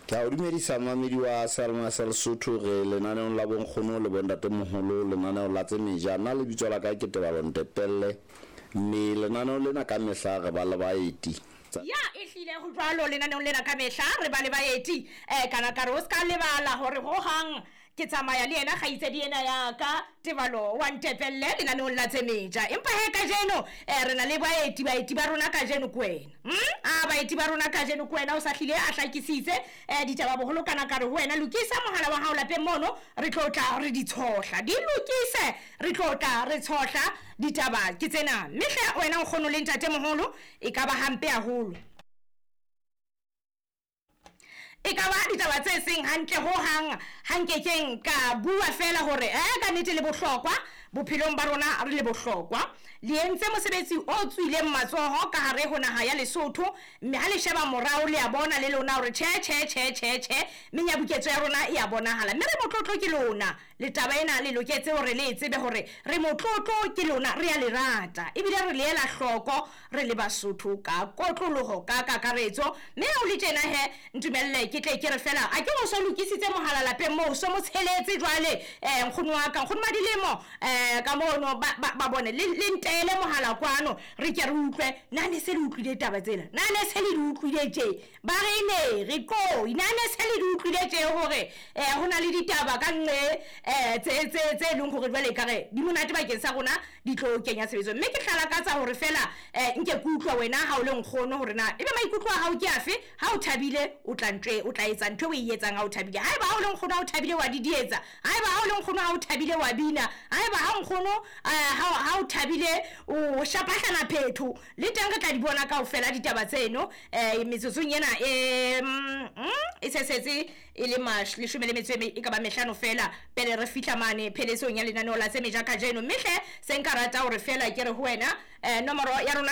Ke a o dumedisa mmamedi wa Salma sa Lesotho re lenaneong la bonkgono le bontatemoholo lenaneo la tse meja. Nna lebitso la ka ke Tebalo Ntepelle mme lenaneo lena ka mehla re ba le baeti. Ya ehlile ho jwalo lenaneong lena ka mehla re ba le baeti. Kana ka re o ska lebala hore hohang ke tsamaya le yena kgaitsedi ena ya ka Tebalo wa Ntepelle lenaneong la tse meja. Empa he kajeno re na le baeti, baeti ba rona kajeno ke wena. A baeti ba rona kajeno ke wena o sa hlile a hlakisitse ditaba boholo kana ka re ho wena lokisa mohala wa hao lapeng mono re tlo tla re di tshohla. Di lokise re tlo tla re tshohla ditaba ke tsena. Mme hle wena nkgono le ntatemoholo e ka ba hampe haholo. E ka ba ditaba tse seng hantle ho hang ha nkekeng ka bua fela hore ka nnete le bohlokwa bophelong ba rona re le bohlokwa. Le entse mosebetsi o tswileng matsoho ka hare ho naha ya Lesotho mme ha le sheba morao le a bona le lona hore tjhe tjhe tjhe tjhe tjhe menyabuketso ya rona e a bonahala mme re motlotlo ke lona. Le taba ena le loketse hore le e tsebe hore re motlotlo ke lona, re a le rata ebile re le ela hloko re le Basotho ka kotloloho ka kakaretso. Mme ha o le tjena he ntumelle ke tle ke re fela a ke o so lokisitse mohala lapeng moo so mo tsheletse jwale nkgono wa ka nkgono Madilemo ka mono ba bone le ntele mohala kwano re ke re utlwe na ne se le utlwile taba tsena na ne se le di utlwile tje ba re ne re koi na ne se le di utlwile tje hore ho na le ditaba ka nqe tse leng hore jwale ekare di monate bakeng sa rona di tlo kenya tshebetso. Mme ke tla lakatsa hore fela nke ke utlwa wena ha o le nkgono hore na ebe maikutlo a hao ke afe ha o thabile o tla ntwe o tla etsa ntho e o e etsang ha o thabile. Haeba ha o le nkgono ha o thabile wa didietsa, haeba ha o le nkgono ha o thabile wa bina, haeba ha nkgono ha o thabile o shapahlana phetho le teng re tla di bona kaofela ditaba tseno metsotsong ena e sesetse e le leshome le metso e ka ba mehlano fela pele re fihla mane pheletsong ya lenaneo la tse meja kajeno. Mme hle se nka rata hore fela ke re ho wena nomoro ya rona